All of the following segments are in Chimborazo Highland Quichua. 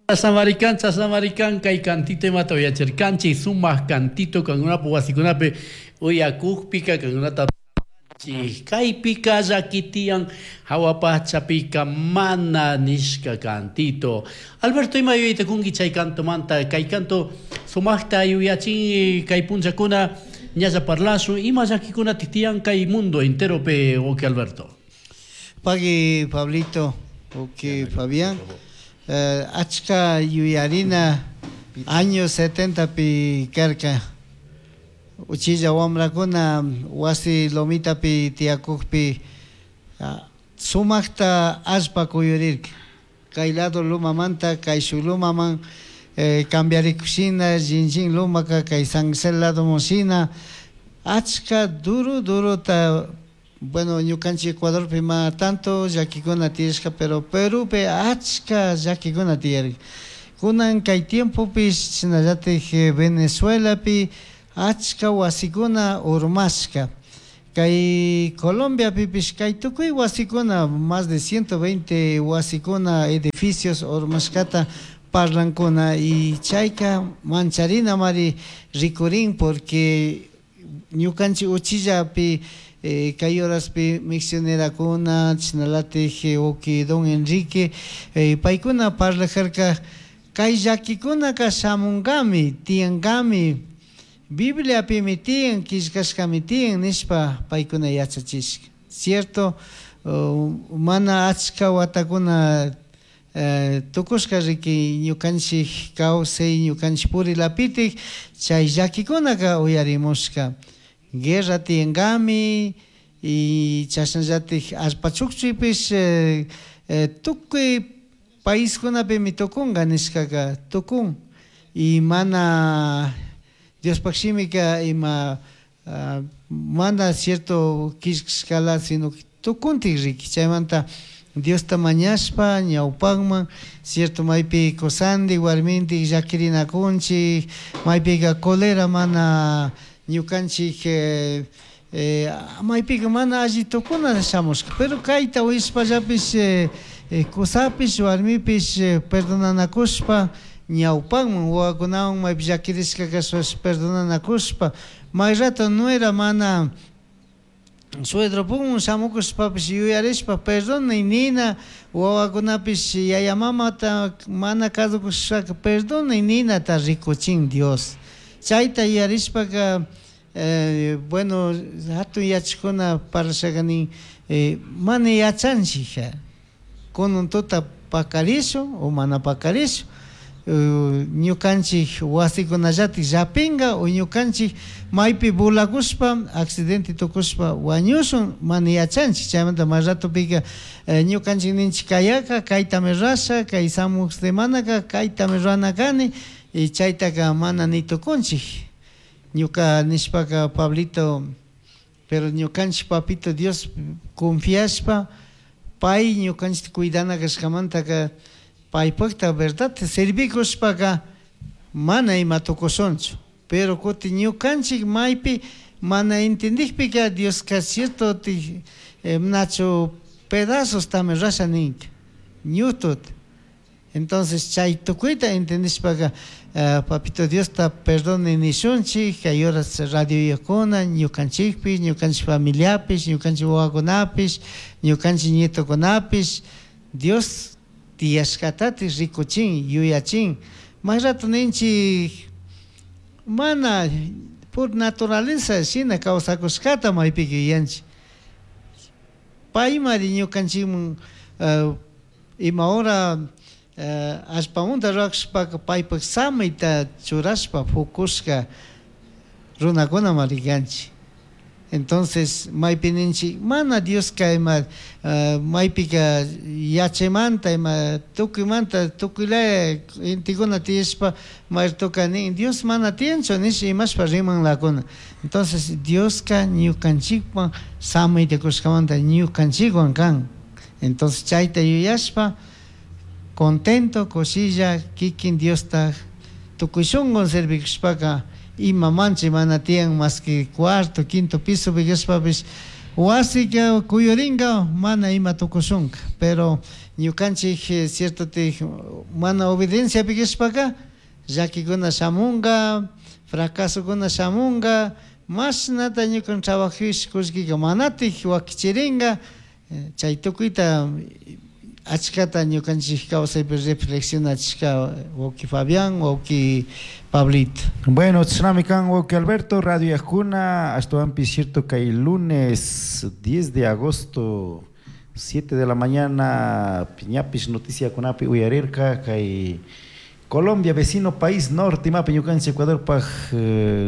Chashnamarikan, chashnamarikan kay cantito imata uyachirkanchik, sumak cantito kankunapak wasikunapi uyakukpika kankunata kaypika llaki tiyan hawa pachapika mana nishka cantito. Alberto, ima yuyayta kunki chay cantomanta? Kay canto sumakta yuyachin kay punllakuna ñalla parlashun ima llakikunatik tiyan kay mundo enteropi, wawki Alberto. Pagui Pablito, wawki Fabián, achka yuyarina año 70pi karka. Uchilla wamrakuna wasi lomitapi tiyakukpi sumakta allpa kuyurirka. Kay lado lumamanta kay shuk lumaman cambiarikushina, shinlli lumaka kay San Gisel ladoman shina achka duro durota. Bueno, ñukanchik Ecuadorpi mana tanto llakikuna tiyashka, pero Perupi achka llakikuna tiyarka. Kunan kay tiempopish shinallatik Venezuelapi achka wasikuna urmashka. Kay Colombiapipish kay tukuy wasikuna, más de 120 wasikuna, edificios urmashkata parlankuna, y chayka mancharina mari rikurin, porque ñukanchik uchillapi kay horaspi misionerakuna chashnalatik wawki don Enrique paykuna parlajarka kay llakikunaka shamunkami, tiyankami, Bibliapimi tiyan, killkashkami tiyan nishpa paykuna yachachishka. Cierto, mana achka watakuna tukushka riki ñukanchik kawsay, ñukanchik purilapitik chay llakikunaka uyarimushka. Guerra tiyankami y chashnallatik allpa chukchuypish tukuy paiskunapimi tukunka nishkaka tukun, y mana Diospaj shimika ima mana cierto killkashkala, sino tukuntik riki. Chaymanta Diosta mañashpa ñawpakman, cierto, maypi kusandik warmintik llakirinakunchik, maypika colera mana ñukanchik maypika mana alli tukuna shamushka, pero kayta uyashpallapish kusapish warmipish perdonanakushpa ñawpakman, wawakunawan maypi llakirishka kashpash perdonanakushpa, may rato nuera mana suedropunmun shamukushpapish yuyarishpa perdonay nina, wawakunapish yaya mamata mana kasukushpaka perdonay ninata rikuchin Dios. Chayta yuyarishpaka bueno, hatun yachakuna parlashaka nin mana yachanchik kunan tuta pakarishun o mana pakarishun, ñukanchik wasikunallatik llapinka o ñukanchik maypi volakushpa accidente tukushpa wañushun, mana yachanchik. Chaymanta may ratopika ñukanchik ninchik kayaka kaytami rurasha, kay samuk semanaka kaytami rurana kani, y chaytaka mana ni tukunchik. Ñuka nishpaka Pablito, pero ñukanchik papito Dios confiashpa pay ñukanchikta cuidana kashkamantaka paypakta verdad servikushpaka mana ima tukushunchu. Pero kutin ñukanchik maypi mana entendikpika Dioska cierto nachu pedazostami rurasha ninka ñutut. Entonces chay tukuyta entendishpaka papito Diosta perdone nishunchik, kay horas radioyakuna ñukanchikpish, ñukanchik familiapish, ñukanchik wawakunapish, ñukanchik nietokunapish Dios tiyashkatatik rikuchin, yuyachin. May rato ninchik mana por naturaleza shina kawsakushkata maypika yuyanchik. Paymari ñukanchikman ima hora allpamanta rurakushpaka paypak samayta churashpa fukushka runakunamari kanchik. Entonces maypi ninchik mana Dioska ima maypika yachaymanta ima tukuymanta tukuylaya gentekuna tiyashpa mayratoka nin Dios mana tiyanchu nish imashpa rimanlakuna. Entonces Dioska ñukanchikwan samayta kushkamanta ñukanchikwan kan. Entonces chayta yuyashpa contento kushilla kikin Diosta tukuy shunqun servikushpaka ima manchay mana tiyan más que cuarto, quinto piso kashpapish. Wasika kuyurinka mana ima tukushunka, pero ñukanchik cierto mana obedienciapi kashpaka llakikuna shamunka, fracasokuna shamunka, mashnata ñukan trabajish kullkika manatik wakichirinka, chay tukuyta achkata ñukanchik kawsaypi reflexionachishka wawki Fabián, wawki Pablito. Bueno, chashnami kan wawki Alberto, Radio Yajuna, ashtawanpish cierto kay lunes 10 de agosto 7 de la mañana ñapish noticiakunapi uyarirka kay Colombia vecino país norte imapi ñukanchik Ecuadorpaj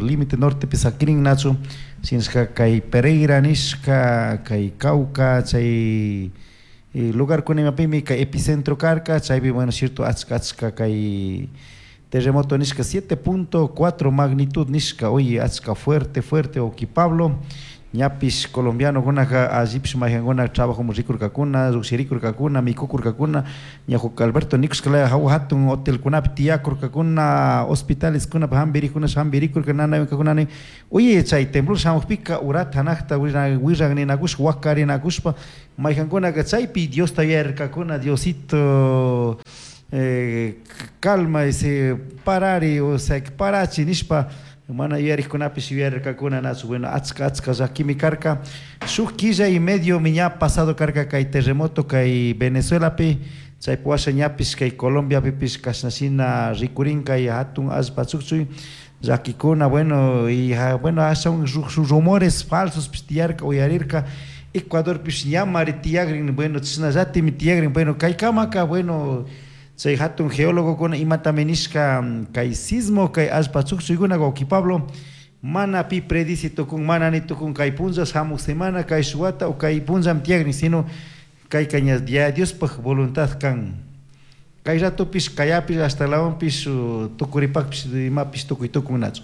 límite nortepi sakirin nachu shinashka kay Pereira nishka kay Cauca chay lugarkuna imapimi kay epicentro karka chaypi bueno cierto achka achka kay terremoto nishka 7.4 magnitud nishka, oye achka fuerte fuerte wawki Pablo, ñapish colombianokunaka allipish mayjankuna trabajomun rikurkakuna, llukshirikurkakuna, mikukurkakuna, ña Alberto nikushkalaya hawa hatun hotelkunapi tiyakurkakuna, hospitaleskunapi hampirikuna hampirikurka nanaywankakunani, oye chay temblor shamukpika urata hanakta willaninakushpa wakarinakushpa mayjankunaka chaypi Diosta yuyarkakuna, Diosito calma ese parari, o sea parachi nishpa mana yuyarikkunapish yuyarkakuna nachu, bueno achka achka llakimi karka, shuk killa y medio mi ña pasado karka kay terremoto kay Venezuelapi, chaypi washa ñapish kay Colombiapipish kashnashina rikurin kay hatun allpa chukchuy llakikuna, bueno y bueno ashawan rumores falsos pish tiyarka uyarirka, Ecuadorpish ñamari tiyakrin, bueno chashnallatimi tiyakrin, bueno kaykamaka bueno chay hatun geólogokuna imatami nishka kay sismo kay allpa chukchuykuna wawki Pablo mana pi predici tukun mana ni tukun kay punlla hamuk semana kay shuwata o kay punllami tiyakrin, sino kayka ña Diospaj voluntad kan kay ratopish kayapish hasta lawanpish tukuripakpish imapish tukuy tukunnachu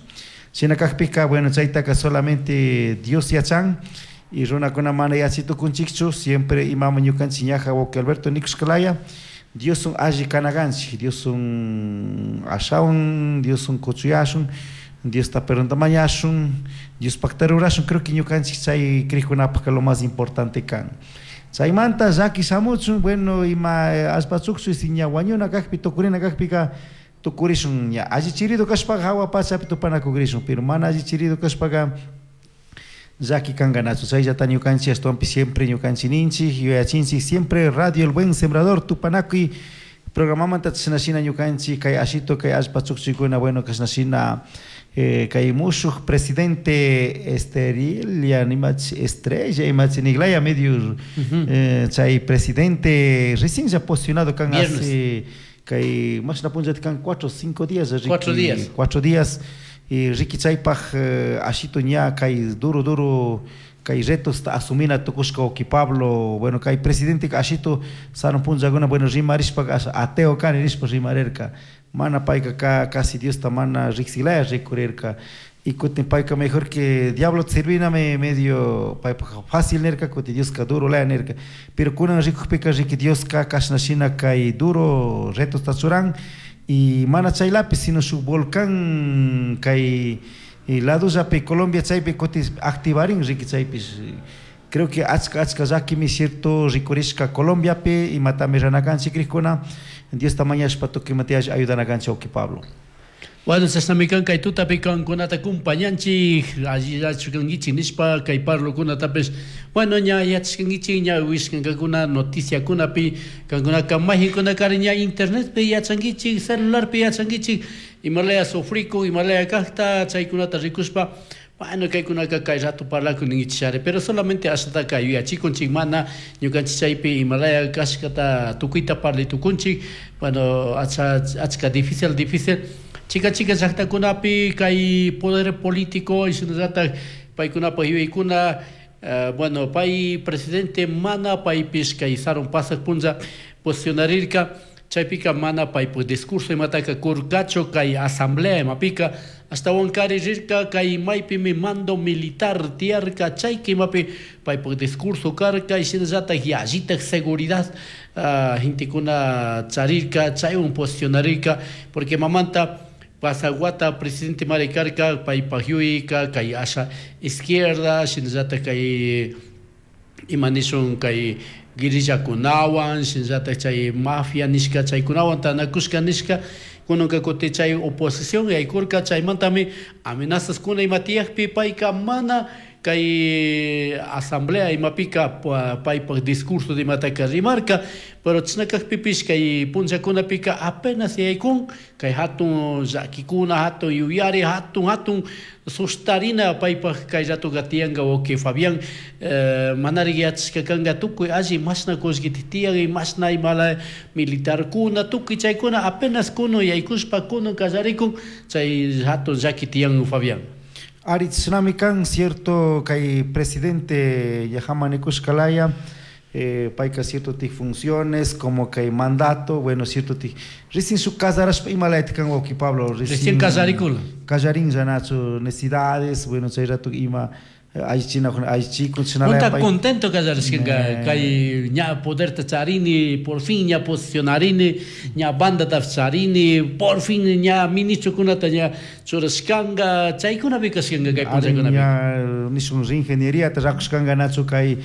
shina kakpika bueno chaytaka solamente Dios yachan y runakuna mana yachay tukunchikchu siempre imama ñukanchik ñaja wawki Alberto nikushkalaya Diosun alli kanakanchik, Diosun ashawan, Diosun kuchuyashun, Diosta perdonta mañashun, Diospakta rurashun, creo que ñukanchik chay krikkunapajka lo más importante kan. Chaymanta llaki shamuchun, bueno, ima allpa chukchuy si ña wañuna kakpi, tukurina kakpika tukurishun, ña alli chirido kashpaka hawa pachapi tupanakukrishun, pero mana alli chirido kashpaka llaki kankanachu, chayllata ñukanchik ashtawanpish siempre ñukanchik ninchik, yuyachinchik siempre Radio El Buen Sembrador tupanakuy programamanta chashnashina ñukanchik kay ashito kay allpa chukchuykuna, bueno kashnashina kay mushuk presidente Esterilia imach Estrella imach niglaya medio chay presidente recién ya posicionado kan hace kay mashna punllata kan 4 o 5 días, 4 días. 4 días y Ricky chaypaj ashito ña kay duro duro kay retos asumina tukushka wawki Pablo, bueno kay presidente ashito sarun punllakuna bueno rimarishpa ateo kani nishpa rimarirka, mana payka casi Diosta mana riksilaya rikurirka y kutin payka mejor que diablo serviname medio paypaj fácil nirka kutin Dioska duro laya nirka, pero kunan rikukpika riki Dioska kashnashina kay duro retosta churan y mana chaylapi sino shuk volcán kay ladollapi Colombia chaypi kutin activarin riki chaypish creo que achka achka llakimi cierto rikurishka Colombiapi imatami ranakanchik krikuna Diosta mañashpa tukuy imata ayudanakanchik wawki Pablo. Bueno, chashnami kan kay tutapi kankunata kumpañanchik allillachu nishpa kay parlokunatapish bueno ña yachashkankichik ña wishkankakuna noticiakunapi kankunaka mayjinkunakari ña internetpi yachankichik celularpi yachankichik imalaya sufrikun imalaya kajta chaykunata rikushpa bueno kaykunaka kay rato parlakun ninkichishari pero solamente ashataka yuyachikunchik mana ñukanchik chaypi imalaya kashkata tukuyta parlay tukunchik bueno achka difícil difícil chica chica llaktakunapi kay poder político y shinallatak paykunapaj yuyaykuna bueno pay presidente mana paypish kay sarun pasak punlla posicionarirka chaypika mana paypuk discurso imataka kurkachu kay asamblea imapika ashtawankari rirka kay maypimi mando militar tiyarka chayka imapi paypuk discurso karka y shinallatak yallitak seguridad gentekuna charirka chaywan posicionarirka porque mamanta pasaguata presidente mari karka paypak yuyayka kay asha izquierda shinallatak kay Ima nishun kay guerrillakunawan, shinallatak chay mafia nishka chaykunawan tanakushka nishka, kunanka kuti chay oposición yaykurka, chaymantami amenazas kuna ima tiyakpi payka mana kay asamblea imapika paypak discurso imataka rimarka, pero chashna kakpipish kay punllakunapika apenas yaykun kay hatun llakikuna, hatun yuyari, hatun hatun sustarina paypak kay ratoka tiyanka wawki Fabián, manarik yachashka kanka tukuy alli mashna kullkita tiyan y mashna imala militarkuna tukuy chaykuna apenas kunan yaykushpa kunan kallarikun chay hatun llaki tiyan, Fabián. Ari, chashnami kan, cierto, kay presidente ñajaman nikushkalaya, payka cierto ti funciones como kay mandato, bueno, cierto ti recién su casarashpa imalayta kan, wawki Pablo. Recién casarikuna. Kallarinlla nachu necesidades, bueno, chay rato ima allichinakuna allichikun. Punta contento kallarishkanka kay ña poderta charini, por fin ña posicionarini, ña bandata charini, por fin ña ministrokunata ña churashkanka, chaykunapi kashkanka kay punllakunapi. Ña nishun ingeniería rakushkanka nachu kay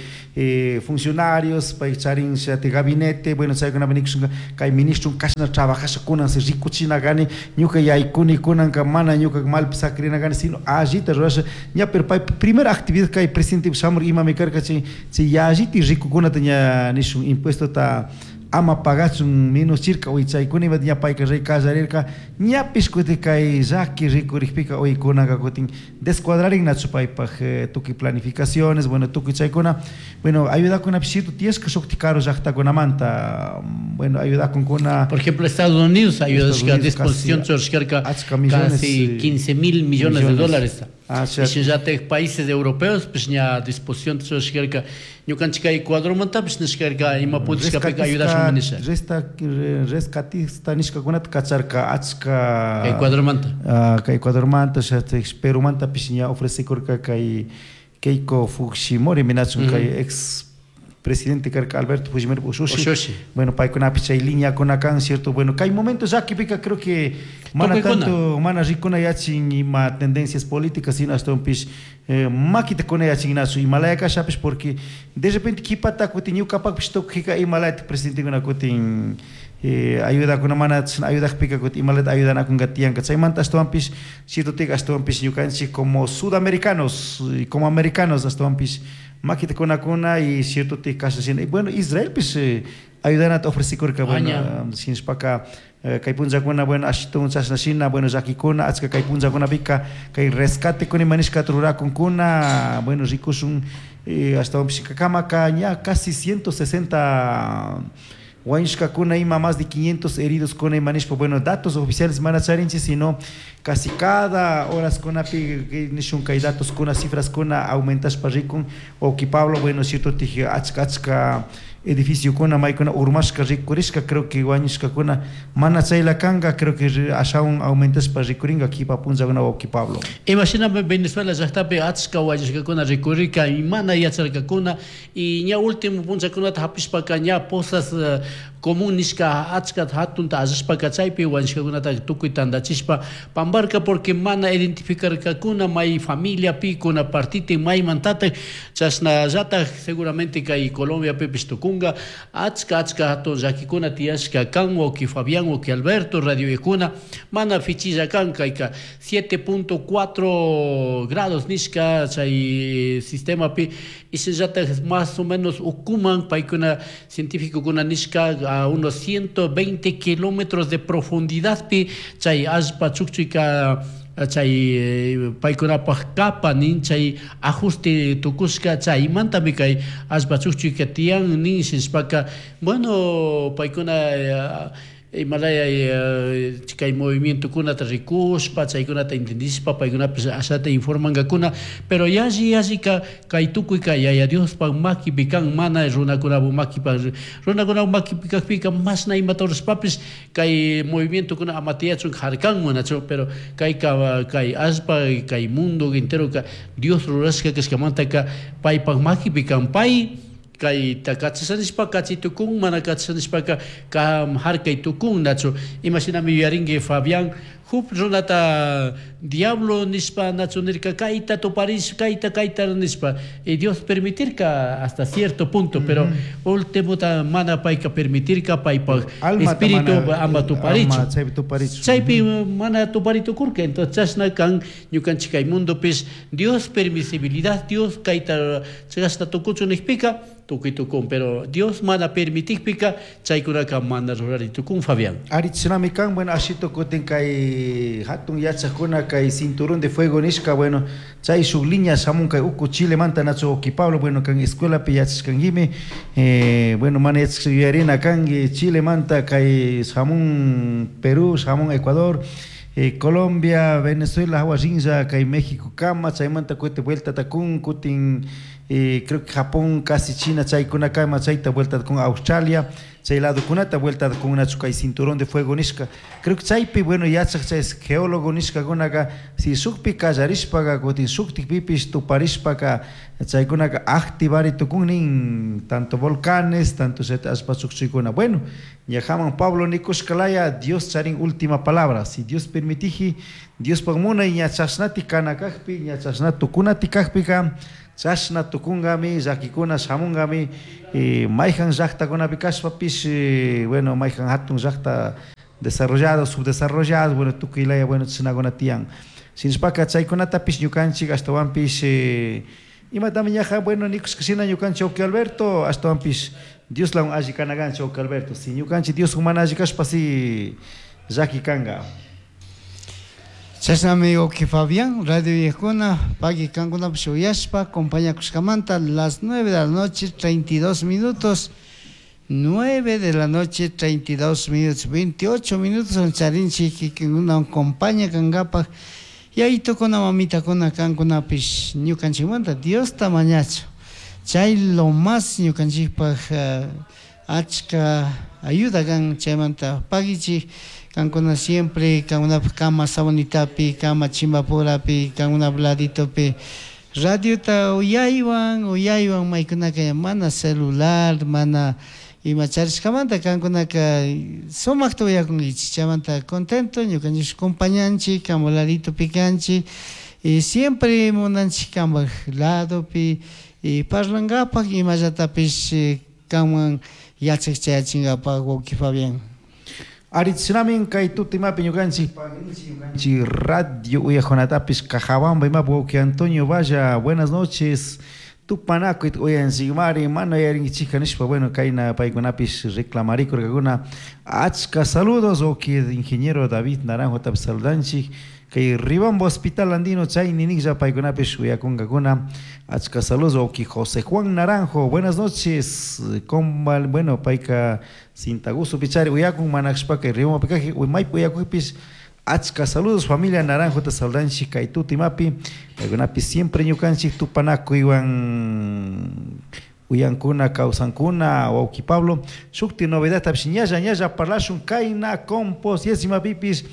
funcionarios pay charin shati gabinete, bueno, chaykunapi nikushunka kay ministro kashna trabajasha kunan se rikuchina kani ñuka yaykuni kunanka mana ñuka malpi sakrina kani sino allita rurasha ña, pero pay primera actividad kay presidente shamur imami karka chay chay yalliti rikukunata ña nishun impuestota ama pagachun menos chirka uy chaykuna ima ña payka rey kallarirka ñapish kutin kay llaki rikurikpika uy kunanka kutin descuadrarin nachu paypak tukuy planificaciones, bueno, tukuy chaykuna, bueno, ayudakunapish cierto tiyashka shukti karu llaktakunamanta, bueno, ayudakunkuna. Por ejemplo, Estados Unidos ayudashka disposición churashkarka casi 15 mil millones de dólares. Ah, y shinallatak países europeos pues ña disposición churashkarka, ñukanchik kay Ecuadormantapish nishkarka ima pudishkapika ayudashun nisha. Rescatista nishkakunata kacharka achka. Ecuadormanta. Kay Ecuadormanta, Perumantapish ña ofrecekurka kay Keiko Fujimori minachun kay ex presidente karka Alberto Fujimori ushushi. Bueno, paykunapish chay lineakuna kan, cierto, bueno, kay momento llakipika creo que mana tanto mana rikuna yachin ima tendencias políticas, sino ashtawanpish makita kuna yachin nachu imalaya kashapish, porque de repente kipata kutin ñukapakpish tukuyka imalayta presidentekuna kutin ayudakuna mana ayudakpika kutin imalata ayudanakunka tiyanka, chaymanta ashtawanpish cierto tika ashtawanpish ñukanchik como sudamericanos, como americanos ashtawanpish makita kunakuna y cierto ti kasha shina, y bueno, Israelpish ayudanata ofrecikurka, bueno, shinashpaka kay punllakuna, bueno, ashitun chashna shina, bueno, llakikuna achka kay punllakunapika kay rescatekuna ima nishkata rurakunkuna, bueno, rikushun, ashtawanpish kamaka ña casi 160 wañushkakuna ima más de 500 heridos kuna ima nishpa, bueno, datos oficiales mana charinchik, sino casi cada horas kunapi nishun kay datos kuna cifras kuna aumentashpa rikun, wawki Pablo, bueno, cierto tij achka achka edificio kuna maykuna urmashka rikurishka, creo que wañushkakuna mana chayla kanka, creo que ashawan aumentashpa rikurinka kipa punllakuna, wawki Pablo. Imashinami Venezuela llaktapi achka wañushkakuna rikurirka y mana yacharkakuna y ña último punllakunata hapishpaka ña pozas común nishka achka hatunta allashpaka chaypi wañushkakunata tukuy tandachishpa pambarka porque mana identificarkakuna may familia pi kuna partiti maymantatak, chashnallatak seguramente kay Colombiapipish tukunga achka achka hatun llakikuna tiyashka kan, wawki Fabián, wawki Alberto, radioyakuna mana fichilla kan kayka 7.4 grados nishka chay sistemapi y shinallatak más o menos ukuman paykuna científicokuna nishka a unos 120 kilómetros de profundidad pi chay allpa chukchuyka chay paykunapaj capa nin chay ajuste tukushka chaymantami kay allpa chukchuyka tiyan nin shinashpaka, bueno, paykuna imalaya kay movimientokunata rikushpa chaykunata entendishpa paykunapish ashata informankakuna, pero yalli yallika kay tukuyka Yaya Diospak makipi kan, mana runakunapak makipak, runakunapak makipi kakpika mashna imata rurashpapish kay movimientokuna ama tiyachun harkanman nachu, pero kayka kay allpa kay mundo enteroka Dios rurashka kashkamantaka paypak makipi kan, pay kayta kachashanishpa kachi tukun, mana kachashanishpaka kam harkay tukun nachu. Imashinami yuyarinki, Fabián. Job runata diablo nishpa nachu nirka kayta tuparish kayta kayta nishpa y Dios permitirka hasta cierto punto, pero ultimota mana payka permitirka paypaj espíritu ama tuparichu. Chaypi mana tuparitukurka. Entonces chashna kan ñukanchik kay mundopis Dios permisibilidad, Dios kayta chashna tukuchu nijpika tukuy tukun, pero Dios mana permitikpika chaykunaka mana rurari tukun, Fabián. Ari chashnami kan, bueno, ashito kutin kay hatun yachakuna kay cinturón de fuego nishka, bueno, chay shuk línea shamun kay uku Chilemanta nachu wawki Pablo, bueno, kan escuelapi yachashkankimi, bueno, mana yachashka yuyarina kanki Chilemanta kay shamun Perú, shamun Ecuador, Colombia, Venezuela hawa rinlla kay México kama, chaymanta kutin vueltata kun, kutin creo que Japón, casi China, chaykunakama chayta vueltata kun Australia, chay ladokunata vueltata kun nachu kay cinturón de fuego nishka. Creo que chaypi, bueno, yachak chay geólogo nishkakunaka, si shukpi kallarishpaka, kutin shuktikpipish tuparishpaka, chaykunaka activari tukun nin, tanto volcanes, tanto chayta allpa chukchuykuna. Bueno, ñajaman Pablo nikushkalaya, Dios charin última palabra. Si Dios permitiji, Diospaj munay ña chashnati kana kajpi, ña chashna tukunati kajpika, chashna tukungami, llakikuna shamunkami, mayjan llaktakunapi kashpapish, bueno, mayjan hatun llakta desarrollado, subdesarrollado, bueno, tukuy laya, bueno, chashnakuna tiyan. Shinashpaka chaykunatapish ñukanchik ashtawanpish, imatami ñaja, bueno, nikushka shina ñukanchik wawki Alberto, ashtawanpish Dioslawan alli kana kanchik wawki Alberto. Si ñukanchik Dioswan mana alli kashpa, si llaki kanka. Chashnami wawki Fabián, radio uyajkuna, pagui kankunapish uyashpa, acompañakushkamanta, las 9 de la noche, 32 minutos, 9 de la noche, 32 minutos, 28 minutos, charinchik kikinkuna acompaña kankapak, yayitukuna, mamitakuna, kankunapish ñukanchikmanta Diosta mañachu. Chay lo más ñukanchikpak achka ayuda kan, chaymanta paguichik, kankuna siempre, kankunapak kama Sabanitapi, kama Chimbapurapi, kankunapa laditopi, radiota uyaywan, uyaywan maykunaka mana celular, mana ima charishkamanta kankunaka sumakta uyakunkichik, chaymanta contento, ñukanchik compañanchik, kanpak laditopi kanchik, y siempre munanchik kanpak ladopi, y parlankapak imallatapish kanman yachak chayachinkapak wawki Fabián. Ari chashnami kay tuta imapi ñukanchik ñukanchik radio uyajunatapish Cajabamba imapi wawki Antonio Valla, buenas noches. Tupanakuy uyanchikmari, mana uyarinkichikka nishpa, bueno, kayna paykunapish reclamarikurkakuna. Achka saludos, wawki ingeniero David Naranjo tapish saludanchik. Kay Ribambo Hospital Andino chay niniklla paykunapish uyakunkakuna. Achka saludos, wawki José Juan Naranjo, buenas noches. Con, bueno, payka Cintagusto pichari uyakun manakshpa kay Ribambo pikaji, maypi uyakuypish. Achka saludos, familia Naranjo ta saludanchik kay tuta imapi. Paykunapish siempre ñukanchik tupanakuywan uyankuna, kawsankuna, wawki Pablo. Shukti novedad tapish ñalla ñalla parlashun kayna compos yesimapipish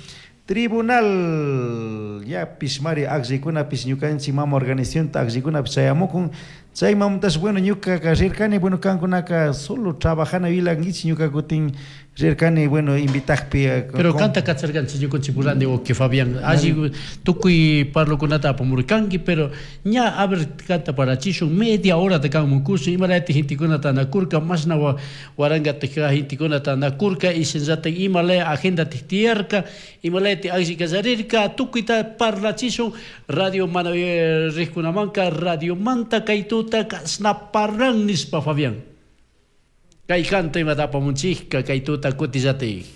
tribunal yapish mari akllaykunapish ñukanchik mama organizacionta akllikunapish chayamukun. Chaymantash, bueno, ñukaka rirkani, bueno, kankunaka solo trabajana vilankichik, ñuka kutin rirkani, bueno, invitakpi. Pero kanta kacharkanchik ñukanchik purandi wawki Fabián, alli tukuy parlokunata apamurkanki, pero ña a ver kanta parachishun media hora te kanmunkushun, imalayati gentekuna tanakurka, mashna waranka gentekuna tanakurka, y shinallatak imalaya agenda tiyarka, imalayati alli kallarirka, tukuyta parlachishun radio mana rikkunamanka, radio manta kay tuta kashna parlan nishpa Fabián. Kay kanta imata apamunchikka kay tuta kutillatik.